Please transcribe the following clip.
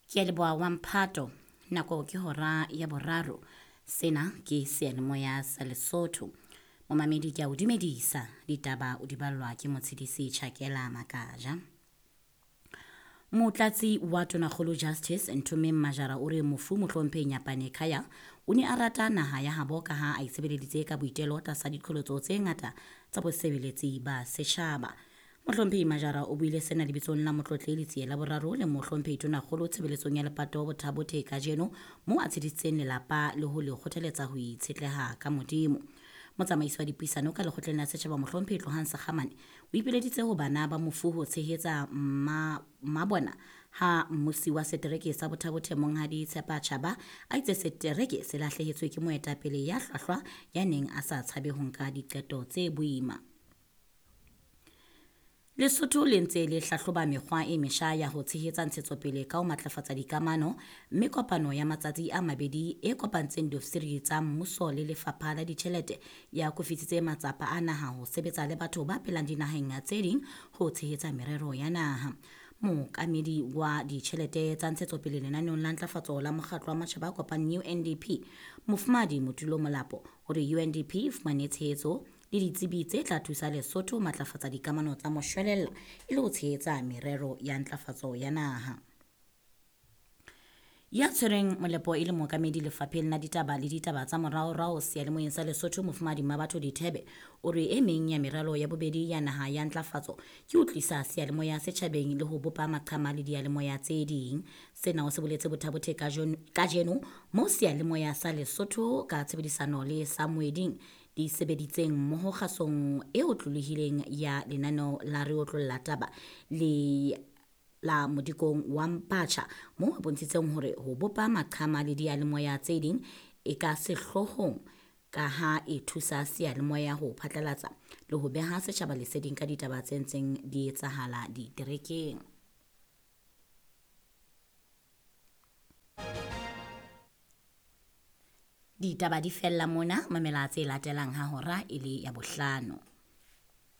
Ke a leboha wa mphato. Nako ke hora ya boraro. Sena ke seyalemoya sa Lesotho. Momamedi ke a o dumedisa. Ditaba o di ballwa ke Motshedisi Chakela Makaja. Motlatsi wa Tonakgolo Justice Nthomeng Majara o re mofu Mohlomphehi Nyapane Khaya o ne a rata naha ya habo ka ha a itshebeleditse ka boitelo tlasa diqholotso tse ngata tsa bosebeletsi ba setjhaba. Mohlomphehi Majara o buile sena lebitsong la Motlotlehi Letsie la Boraro le Mohlomphehi Tonakgolo tshebeletsong ya lepato Bothabothe kajeno moo a tshedisitseng lelapa le ho le kgothaletsa ho itshetleha ka Modimo. Motsamaisi wa dipuisano ka lekgotleng la setjhaba Mohlomphehi Tlohang Sekgamane o ipileditse ho bana ba mofu ho tshehetsa mmabona ha mmusi wa setereke sa Bothabothe Monghadi Tshepa Chaba a itse setereke se lahlehetswe ke moetapele ya hlwahlwa ya neng a sa tshabe ho nka diqeto tse boima. Lesotho le ntse le hlahloba mekgwa e mesha ya ho tshehetsa ntshetsopele ka ho matlafatsa dikamano mme kopano ya matsatsi a mabedi e kopantseng diofisiri tsa mmuso le lefapha la ditjhelete ya kofisitse matsapa a naha ho sebetsa le batho ba phelang dinaheng tse ding ho tshehetsa merero ya naha. Mookamedi wa ditjhelete tsa ntshetsopele lenaneong la ntlafatso la mokgatlo wa matjhaba a kopaneng UNDP, Mofumahadi Motulo Molapo, o re UNDP e fumane tshehetso le ditsebi tse tla thusa Lesotho ho matlafatsa dikamano tsa moshwelella e le ho tshehetsa merero ya ntlafatso ya naha. Ya tshwereng molepo e le mookamedi lefapheng la ditaba le ditaba tsa moraorao seyalemoyeng sa Lesotho Mofumahadi Mmabatho Dithebe o re e meng ya meralo ya bobedi ya naha ya ntlafatso ke ho tlisa seyalemoya setjhabeng le ho bopa maqhama le diyalemoya tse ding. Sena o se boletse Bothabothe kajeno moo seyalemoya sa Lesotho ka tshebedisano le sa Moeding di sebeditseng mmoho kgasong e otlolohileng ya lenaneo la Re Otlolla Taba le la modikong wa Mpacha moo a bontshitseng hore ho bopa maqhama le diyalemoya tse ding e ka sehloohong ka ha e thusa seyalemoya ho phatlalatsa le ho beha setjhaba leseding ka ditaba tse ntseng di etsahala diterekeng. Ditaba di fella mona, mamela tse latelang ha hora e le ya bohlano.